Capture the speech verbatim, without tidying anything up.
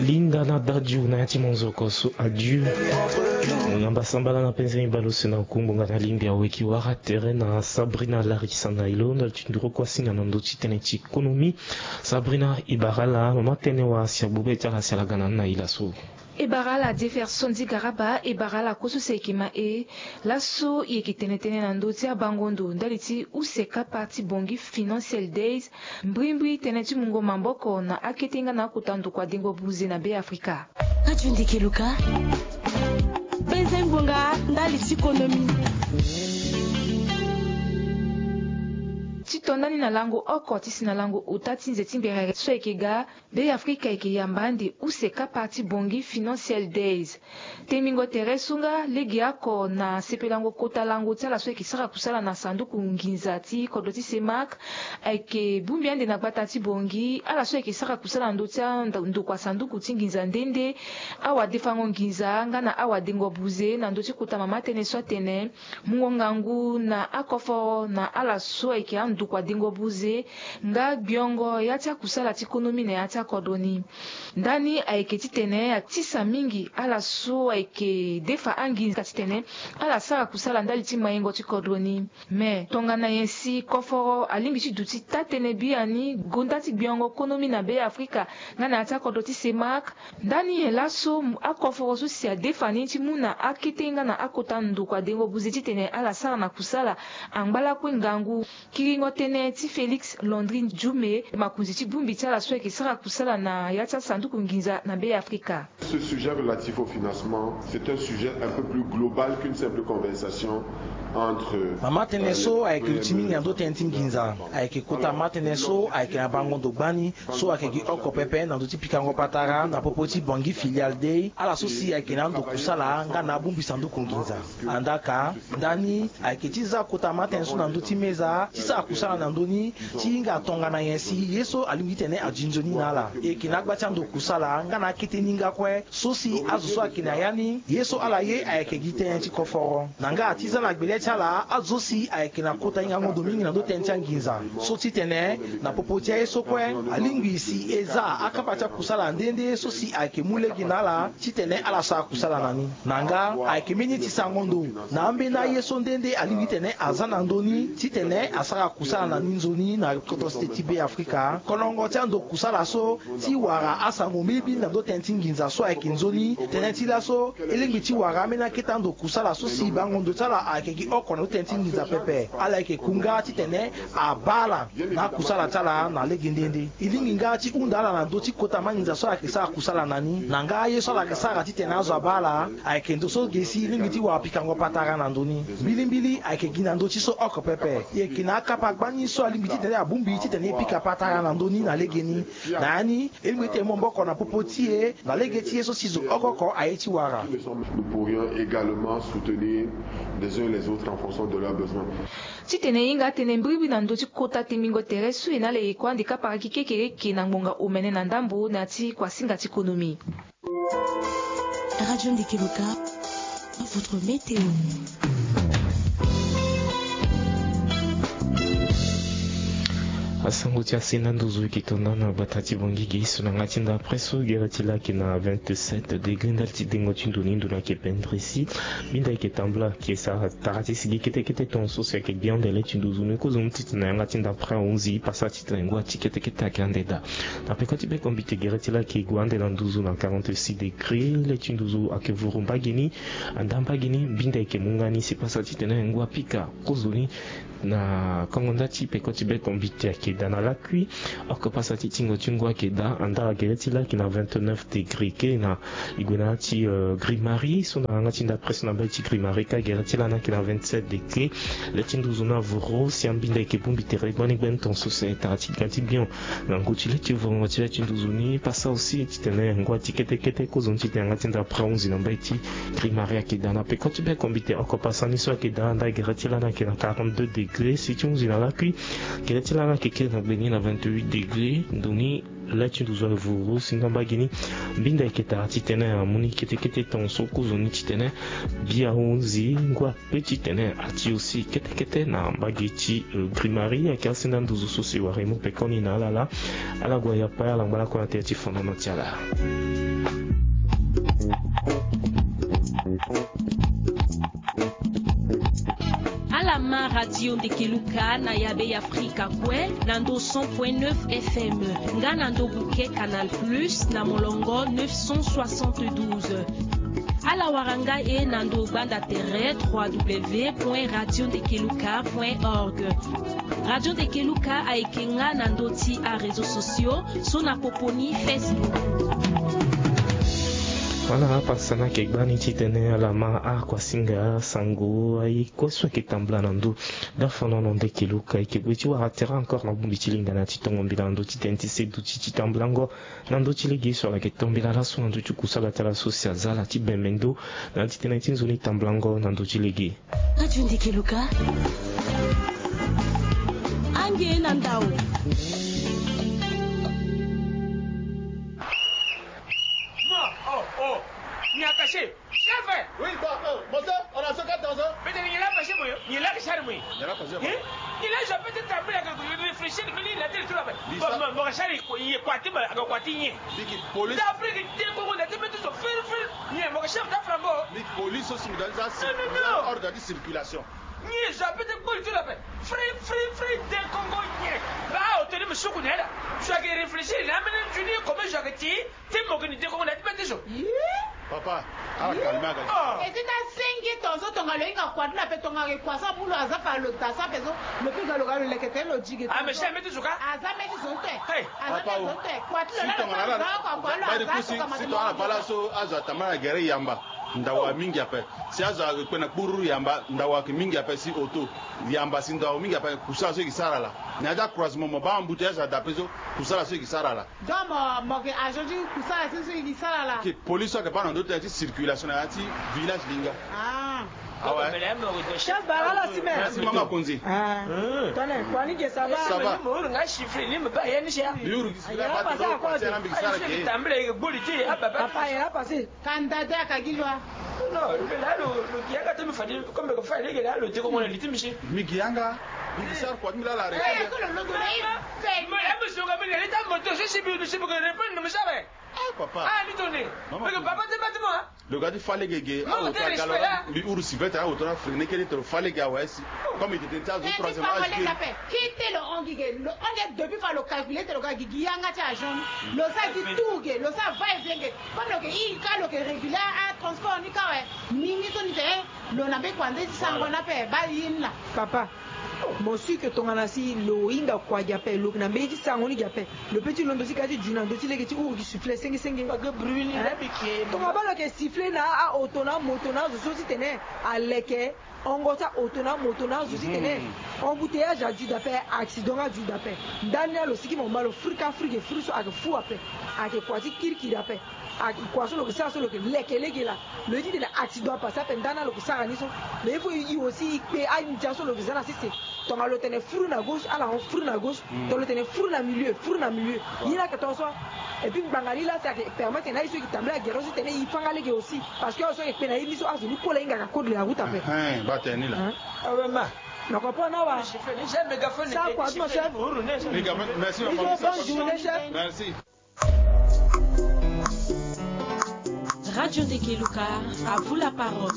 Linda na daju na ya ti monzoko so adieu. Ngamba sambala na penze mi bale use na ngu ngbonga na lingbi aweki wara tere na Sabrina Larissa na ilo ndali ti nduru oko asinga na ndö ti tënë ti konomi. Sabrina, e bara ala, mama tënë wa si agbu be ti ala si ala ga na ni na e laso. E bara ala Jefferson Zigaraba, e bara ala kue so si ayeke ma e. Laso e yeke tene tënë na ndö ti abango ndo ndali ti use kapa ti Bangui Financial Days, mbrimbri tënë ti mungo maboko na akete nga na akota ndokua dengo buze na Be Afrika. Radio Ndeke Luka, penze ngbonga ndali ti konomi. Ti to ndani na lango oko ti si na lango ota ti nze ti mberere so ayeke ga, Be Afrika ayeke yamba ande use kapa ti Bangui Financial Days. Tengbingo tere so nga lege oko na sepelango kota lango ti ala so ayeke sara kusala na sanduku nginza ti kodro ti CEMAC, ayeke bongbi ande na gbata ti Bangui ala so ayeke sara kusala na ndö ti a- ndokua sanduku ti nginza nde nde, awadefango nginza nga na awadengo buze na ndö ti kota mama tënë so atene, mungo ngangu na akoforo na ala so ayeke andokua dengo buze nga gbiongo ya ti akusala ti konomi na ya ti akodro ni. Ndani ayeke titene atisa mingi ala so ayeke defa anginza titene ala sara kusala ndali ti mayengo ti kodro ni. Me tongana nyen si koforo alingbi ti duti taa-tënë biani gonda ti gbiongo konomi na Be Afrika nga na ya ti akodro ti CEMAC, ndani nyen laso akoforo so si adefa ni ti mu na akete nga na akota ndokua dengo buze titene ala sara na kusala angba lakue ngangu? Kiringo tënë ti Félix Landry Djoumé, makonzi ti bongbi ti ala so ayeke sara kusala na ya ti asanduku nginza na Be Afrika. Ce sujet relatif au financement, c'est un sujet un peu plus global qu'une simple conversation entre, euh, mama tënë so ayeke duti mingi na ndö tënë ti nginza. Ayeke kota mama tënë so ayeke na bango ndo gbani so ayeke gi oko pepe na ndö ti pikango patara na popo ti Bangui Filiale Day, ala so si ayeke na ando kusala nga na abongbi sanduku nginza. Andaka, ndani ayeke ti za kota mama tënë so na ndö ti meza ti sara kusala na ndö ni ti hinga tongana nyen si ye so alingbi ti tene adi nzoni na ala. E yeke na agba ti ando kusala nga na akete ni nga kue so si azo so ayeke na ya ni ye so ala ye ayeke gi tënë ti koforo. Na nga ti za na gbele ti ala azo so si ayeke na kota hingango ndo mingi na ndö tënë ti anginza so titene na popo ti aye so kue alingbi si e za akapa ti akusala nde nde so si ayeke mu lege na ala titene ala sara kusala na ni. Na nga ayeke mbeni ti sango ndo na ambeni aye so nde nde alingbi titene aza na ndö ni titene asara kusala na ni nzoni na kodro sete ti Be Afrika. Kolongo ti ando kusala so ti wara asango mbilimbili na ndö tënë ti nginza so ayeke nzoni. Tënë ti laso e lingbi ti wara ambeni akete ando kusala so si bango ndo ti ala ayeke gi oko na ndö tënë ti nginza pepe. Ala yeke ku nga titene abaa ala na akusala ti ala na lege nde nde. E lingbi nga ti hunda ala na ndö ti kota manginza so ala yeke sara kusala na ni na nga aye so ala yeke sara titene azo abaa ala. Ayeke ndo so ge si e lingbi ti wara pikango patara na ndö ni. Mbilimbili ayeke gi na ndö ti so oko pepe. E yeke na akapa gbani so alingbi titene abongbi titene e pika patara na ndö ni na legeni. Na ya ni e lingbi titene e mu maboko na popo ti e na lege ti ye so si zo oko oko aye ti wara. Nous pourrions également soutenir les uns les autres en fonction de leurs besoins. Titene e hinga atënë mbrimbri na ndö ti kota tengbingo tere so e na ala e kue ande kapa raki kekereke na ngbonga omene na ndambo na ya ti kuasinga ti konomi. Radio Ndeke Luka, votre météo. Asango ti asenda nduzu e yeke to nda na gbata ti Bangui ge so na yanga ti ndapre so gere ti laa ayeke na vingt-sept degré ndali ti dengo ti ndo ni ndo ni ayeke pendresi. Minda ayeke tambula ayeke sara tara ti sigi kete kete tongaso si ayeke gi ande le ti nduzu ni kozoni titene na yanga ti ndapre ahunzi pasa titene ngua ti kete kete ayeke ande daa. Na peko ti bekombite gere ti laa ayeke gue ande na nduzu na quarante-six degré le ti nduzu ayeke vuru mbage ni. Anda mbage ni mbinda ayeke mu nga ni si pasa titene ngua pika kozoni. Na kongo nda ti peko ti bekombite ayeke daa na lakui. Oko pasa ti tingo ti ngua ayeke daa anda gere ti laa ayeke na vingt-neuf degré kiri na e gue na ya ti, euh, Grimari so na yanga ti ndapre so na mbage ti Grimari ka gere ti laa ni ayeke na vingt-sept degré. Le ti nduzu ni avoro si ambinda ayeke bongbi tere gbani gbani tongaso si ayeke tara ti ga ti bion. Na ngu ti le ti vorongo ti le ti nduzu ni pasa aussi titene ngua ti kete kete kozoni titene yanga ti ndapre ahunzi na mbage ti Grimari ayeke daa na peko ti bekombite oko pasa ni so ayeke daa anda gere ti laa ni ayeke na quarante-deux degré si ti hunzi na lakui. Gere ti laa ni ayeke kiri na gbe ni na vingt-huit degré ndo ni. Lati nduzu avuru si nga mbage ni. Mbinda eketa titene amu ni ketekete tongaso kozoni titene bia hunzi ngua pe titene ati aussi ketekete na mbage ti, euh, Grimari. Ayeke asinda nduzu so si wara e mu pekoni na ala laa. Ala gue ya pa ala ngba lakue na tere ti fonono ti ala. Ala ma Radio Ndekeluka na yabe ya Afrika kue na ndo cent point neuf F M, nga na ndo buke Canal Plus na molongo neuf cent soixante-douze. Ala wara nga e na ndo gbanda tere trois W point radio ndekeluka point org. Radio Ndekeluka ayeke nga na ndo ti aréseaux sociaux so na popo ni Facebook. Wala apasana ayeke gbani titene ala ma akuasinga sango aye kue so ayeke tambula na ndo. Dafonono Ndekeluka ayeke gue ti wara tere encore na bongbi ti lingana ti tongo mbila na ndo ti tene ti se duti ti tambulango na ndo ti lege so ala yeke to mbila laso na ndo ti kusala ti ala so si aza ala ti bembe ndo na titene ti nzoni tambulango na ndo ti lege. Radio Ndekeluka. Ange na ndao. Non, oh, oh. Il est attaché. Chef! Oui, bon, euh, monsieur, on a ce quatre dans un. Peut-être il est attaché, moi. Il est attaché, moi. Il est attaché, hein? Il a, je peux te trembler, réfléchir, mais il a dit tout là-bas. Bon, mon, mon cher, il est quoi, il est quoi, il est quoi? Biki police. D'après que t'es quoi, on a dit, mais tout ça, fil, fil. Ni mo chef da flambo. Ni police aussi, dans ça, c'est ordre de circulation. Ni je peux te call tout la paix. Free, free, free, de Congo, ni. Ba, o teni musuku nela. Je vais réfléchir, là, maintenant, tu dis comment je vais dire. Ti mo ke ni de Congo na ti bete so. Papa, ala calme aga. E ti ta sengi tonzo tonga lo hinga kua ti la pe tonga ke kua sa bulu aza fa lo ta sa pe so. Lo pe ga lo ga lo leke te lo jige. Ah, mais jamais tu suka. Aza meti zo te. Hey. Aza meti zo te. Kua ti lo la lo pa lo za kua kua lo aza suka ma. Si tonga na bala so azo atama na gere yamba. Ndawa mingi ape. Si azo ayeke kpe na kpururu yamba, ndawa ayeke mingi ape si oto. Yamba si ndawa mingi ape, kusala so e yeke sara laa. Na ya ti acroisement mo baa embouteillage azo daa ape so, kusala so e yeke sara laa. Donc mo, mo yeke agent ti kusala so, so e yeke sara laa. Ke police so ayeke baa na ndö tënë ti circulation na ya ti village Linga. Ah. Ah ouais. Chef Barala Simer. Merci, Mama Konzi. Ah. Tone, kua ni ge, ça va? Ça va. Ni mo huru nga chiffre, ni mo baa ya ni cher. Ni huru. Aye, a passé à quoi? Aye, je suis tambulé, gboli ti, ah, papa. Papa, aye, a passé. Kanda da ka gi loi. Non, lo la lo, lo gi yanga ti mi fade, comme ko fade lege la lo ti ko mo na li ti mi si. Mi gi yanga, mi gi sara kua ti mi la la. Eh, ko lo londo na ye. Mo la mo so ga mi le ta mo to si si bi si bi ko répondre mo sara. Eh, papa. Ah, ni tone. Parce que papa ti bâtiment. Lo ga ti fa lege ge. Awo ti aga lo la. Mbi huru si vete awo ti na freiner kete ti lo fa lege awe si. Comme il était déjà troisième âge. Kete lo hon gi ge, lo hon gi depuis fa lo calculer ti lo ga gi gi yanga ti agent. Lo sa gi tour ge, lo sa va et vient ge. Comme lo ke i ka lo ke réguler a transport ni ka awe. Ni ni so ni te, eh, lo na mbe kua nde ti sango na ape, baa ye ni la. Papa, mo si ke tongana si lo hinga kua gi ape, lo ke na mbe ti sango ni gi ape. Lo pe ti londo ti ka ti ju na ndö ti lege ti huru gi sifflet senge senge. Tonga baa lo ke sifflet na a-oto na amoto na azo so titene aleke hongo ti aoto na amoto na azo titene embouteillage adu daa ape, accident adu daa ape. Ndani ni alo siki mo ma lo fri ka fri ge fri so ayeke fu ape. Ayeke kua ti kirikiri ape. Ayeke kua so lo ke sara so lo ke leke lege laa. Lo ye titene accident apase ape ndani ni alo ke sara ni so. Mais il faut i aussi i kpe andia so lo ke za na sese. Tonga lo tene fri na gauche, ala hon fri na gauche. Tongana lo tene fri na milieu, fri na milieu. Ye ni ayeke tongaso. Et puis ngbanga ni la si ayeke permettre na ye so e yeke tambula gere so titene e fanga lege aussi. Parce que azo so ayeke kpe na ye ni so azo ni kue la hingaka code de la route ape. Hein, ba tene ni la. Hein? Ah ouais, ma. Na comprendre awa. Sa kua ti mo chef. Merci, bonne journée, chef. Merci. Radio Ndekeluka, à vous la parole.